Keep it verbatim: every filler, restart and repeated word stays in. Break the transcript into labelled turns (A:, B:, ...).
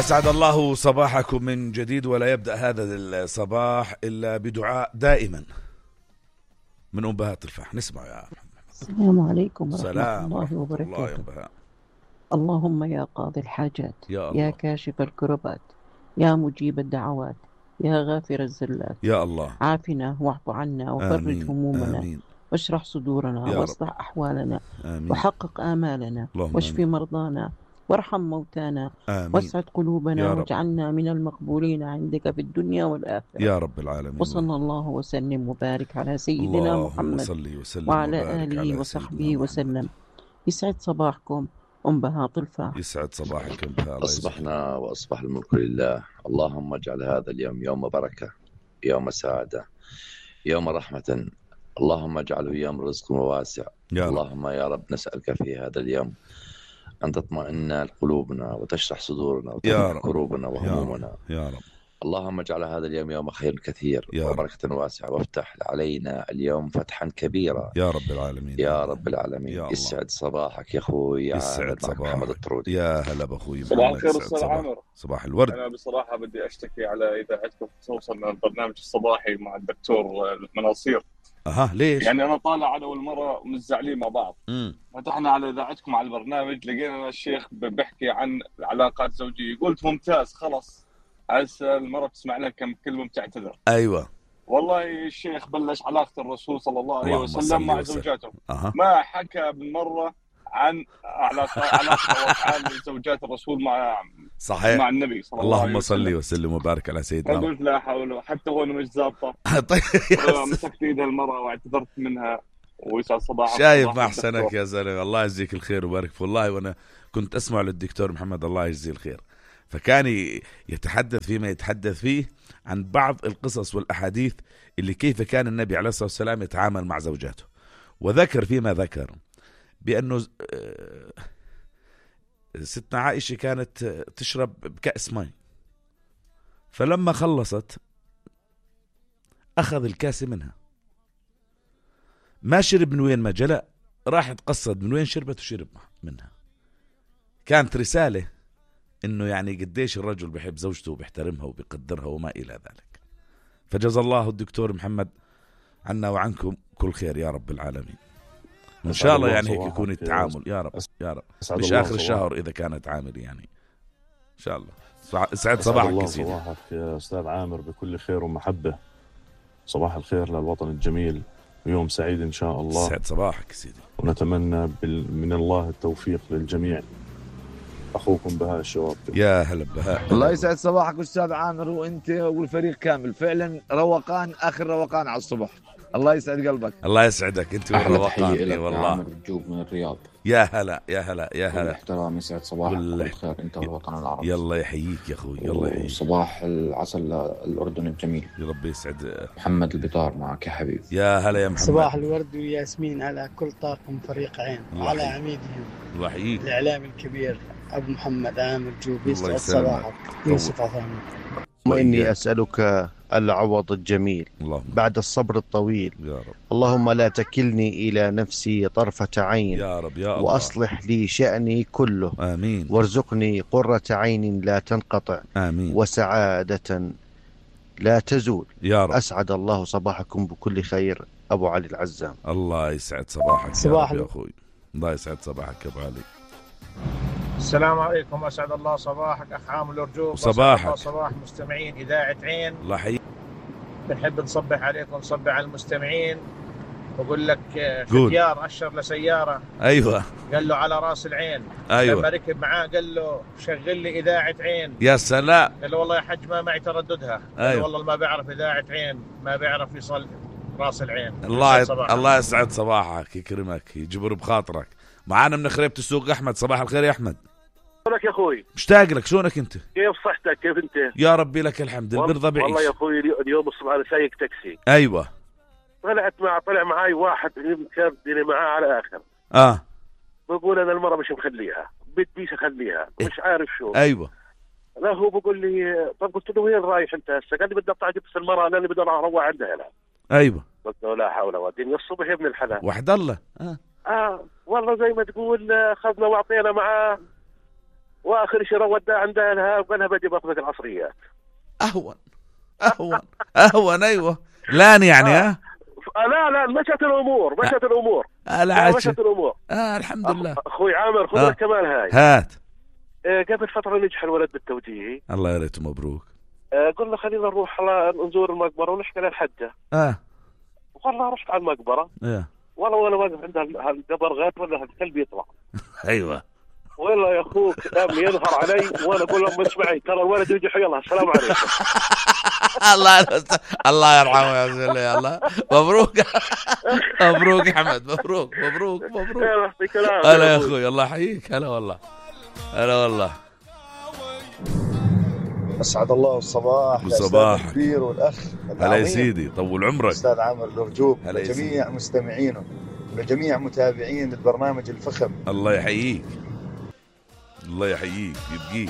A: أسعد الله صباحكم من جديد، ولا يبدأ هذا الصباح إلا بدعاء دائما من أم بهاء تلفاح. نسمع يا محمد.
B: السلام عليكم ورحمة
A: سلام
B: الله
A: ورحمة
B: وبركاته.
A: الله يا بهاء.
B: اللهم يا قاضي الحاجات،
A: يا الله،
B: يا كاشف الكربات، يا مجيب الدعوات، يا غافر الزلات،
A: يا الله،
B: عافنا واعف عنا وفرج
A: آمين
B: همومنا
A: آمين
B: واشرح صدورنا
A: يا رب.
B: واصلح أحوالنا
A: آمين
B: وحقق آمالنا
A: اللهم
B: واشف
A: آمين
B: مرضانا وارحم موتانا
A: آمين
B: واسعد قلوبنا
A: يا رب.
B: واجعلنا من المقبولين عندك في الدنيا والآخرة
A: يا رب العالمين.
B: وصلى الله وسلم وبارك على سيدنا
A: اللهم
B: محمد
A: صل وسلم
B: وعلى
A: وبارك
B: آله
A: على
B: وصحبه
A: سيدنا محمد.
B: وسلم. يسعد صباحكم أم بهاء تلفاح.
A: يسعد صباحك أم بهاء.
C: أصبحنا وأصبح الملك لله. اللهم اجعل هذا اليوم يوم بركة، يوم سعادة، يوم رحمة. اللهم اجعله يوم رزق وواسع.
A: يا رب.
C: اللهم يا رب نسألك في هذا اليوم أن تطمئن قلوبنا وتشرح صدورنا وتفك كروبنا وهمومنا.
A: يا رب.
C: اللهم اجعل هذا اليوم يوم خير كثير وبركة واسعة، وافتح علينا اليوم فتحا كبيرا
A: يا رب العالمين.
C: يا رب العالمين.
A: يا
C: يسعد صباحك يا أخوي.
A: يسعد صباحك
C: محمد الطرودي.
A: يا هلا بأخوي.
D: صباح الخير أستاذ عامر.
A: صباح الورد.
D: أنا بصراحة بدي أشتكي على إذاعتكم خصوصا البرنامج الصباحي مع الدكتور المناصير.
A: أها ليش؟
D: يعني أنا طالع أنا والمرة مزعلين مع بعض.
A: امم
D: فتحنا على إذاعتكم على البرنامج، لقينا الشيخ بحكي عن العلاقات الزوجية. قلت ممتاز، خلص هسه المرة بتسمع لها كم كلمة بتعتذر.
A: أيوة
D: والله الشيخ بلش علاقة الرسول صلى الله عليه وسلم مع زوجاته.
A: أه.
D: ما حكى بالمرة عن علاقة علاقة وأفعال زوجات الرسول مع
A: صحيح
D: مع النبي صلى الله عليه وسلم.
A: اللهم صل وسلم وبارك على سيدنا.
D: قلت لا حول، حتى هون مش ظابطة.
A: طيب
D: مسكت ايدها المرأة واعتذرت منها. ويسعد صباحك.
A: شايف ما أحسنك يا زلمة، الله يجزيك الخير وبارك. والله وأنا كنت أسمع للدكتور محمد الله يجزيه الخير، فكان يتحدث فيما يتحدث فيه عن بعض القصص والأحاديث اللي كيف كان النبي عليه الصلاة والسلام يتعامل مع زوجاته، وذكر فيما ذكر بأنه ستنا عائشة كانت تشرب بكأس ماء، فلما خلصت أخذ الكاس منها، ما شرب من وين ما جلأ، راح تقصد من وين شربت وشرب منها. كانت رسالة إنه يعني قديش الرجل بحب زوجته وبيحترمها وبيقدرها وما إلى ذلك. فجزا الله الدكتور محمد عنا وعنكم كل خير يا رب العالمين. إن شاء الله يعني هيك يكون التعامل يا رب يا رب، مش آخر الشهر إذا كانت عامل يعني إن شاء الله. سعد صباحك كثير.
E: صباحك يا أستاذ عامر بكل خير ومحبة. صباح الخير للوطن الجميل ويوم سعيد إن شاء الله.
A: سعد صباحك سيدي.
E: ونتمنى من الله التوفيق للجميع. أخوكم بهاء الشواب.
A: يا هلا بهاء.
F: الله يسعد صباحك أستاذ عامر وأنت والفريق كامل. فعلا روقان آخر روقان على الصبح. الله يسعد قلبك.
A: الله يسعدك انت والروقان والله.
G: مرجوب من الرياض.
A: يا هلا يا هلا يا هلا.
G: احترام يسعد صباحك بالخير انت والوطن العربي.
A: يلا يحييك يا اخوي يلا يحييك.
G: صباح العسل للاردن الجميل.
A: يا رب يسعد.
G: محمد البطار معك يا حبيبي.
A: يا هلا يا محمد.
H: صباح الورد وياسمين على كل طاقم فريق عين وعلى عميدهم.
A: الله يحييك.
H: الاعلام الكبير ابو محمد عامر جوبي. يسعد صباحك يوسف عثمان.
I: وإني أسألك العوض الجميل
A: اللهم.
I: بعد الصبر الطويل
A: يا رب.
I: اللهم لا تكلني إلى نفسي طرفة عين
A: يا رب يا الله.
I: وأصلح لي شأني كله
A: آمين.
I: وارزقني قرة عين لا تنقطع
A: آمين.
I: وسعادة لا تزول
A: يا رب.
I: أسعد الله صباحكم بكل خير. أبو علي العزام.
A: الله يسعد صباحك
H: صباح
A: يا أخوي. الله يسعد صباحك يا أبو علي.
J: السلام عليكم. أسعد الله صباحك أخ عامل الرجوب.
A: صباحك.
J: صباح مستمعين إذاعة عين.
A: الله يحييك.
J: بنحب نصبح عليكم نصبح على المستمعين. بقول لك ختيار أشر لسيارة.
A: أيوة.
J: قال له على رأس العين.
A: أيوة.
J: لما ركب معاه قال له شغل لي إذاعة عين.
A: يا سلام.
J: قال له والله يا حج ما معي ترددها.
A: أيوة.
J: قال والله ما بيعرف إذاعة عين ما بيعرف يصل رأس العين.
A: الله يت... الله يسعد صباحك يكرمك يجبر بخاطرك. معانا من خريبة السوق أحمد. صباح الخير يا أحمد.
K: شلونك يا اخوي؟
A: مشتاق لك. شلونك انت؟
K: كيف صحتك؟ كيف انت؟
A: يا ربي لك الحمد. البرضا بعيش.
K: والله يا اخوي اليوم الصبح انا سايق تاكسي.
A: ايوه.
K: طلعت مع طلع معاي واحد كان ديني معاه على اخر.
A: اه
K: بقول انا المره مش مخليها بديش اخليها مش عارف شو.
A: ايوه.
K: لا هو بقول لي طب قلت له وين رايح انت هسه؟ قال لي بدي اطلع اجيب المره لاني بدي اروح عندها هنا.
A: ايوه.
K: قلت له لا حول ولا قوه الصبح يا ابن الحلال.
A: وحد الله.
K: اه اه والله زي ما تقول اخذنا واعطينا معاه و واخر شيء وداه عندها لها وقالها بدي باخذك العصريات.
A: اهون اهون اهون ايوه لان يعني ها
K: آه. لا لا مشت الامور مشت الامور
A: آه لا
K: مشت الامور
A: اه الحمد لله.
K: اخوي عامر خذ
A: آه.
K: كمان هاي
A: هات.
K: آه قبل فتره نجح الولد بالتوجيهي.
A: الله يريته مبروك.
K: آه قلنا خلينا نروح نزور المقبره ونحكي للحجه.
A: اه
K: والله رحت على المقبره.
A: اه
K: والله وانا واقف عند هالقبر غاد ولا هالكلب يطلع.
A: ايوه
K: والله يا اخوك قام ينهر علي وانا اقول لهم اسمعي ترى الولد يجي حي الله السلام عليكم.
A: الله الله يرحمه يا زلمه. يا الله مبروك مبروك يا حمد مبروك مبروك مبروك. هلا يا اخوي الله يحييك. هلا والله هلا والله.
L: اسعد الله الصباح
A: الصباح
L: الكبير والاخ.
A: هلا يا سيدي طول عمرك
L: استاذ عامر الرجوب لجميع مستمعينه ولجميع متابعين البرنامج الفخم.
A: الله يحييك الله يحييك يبقيك.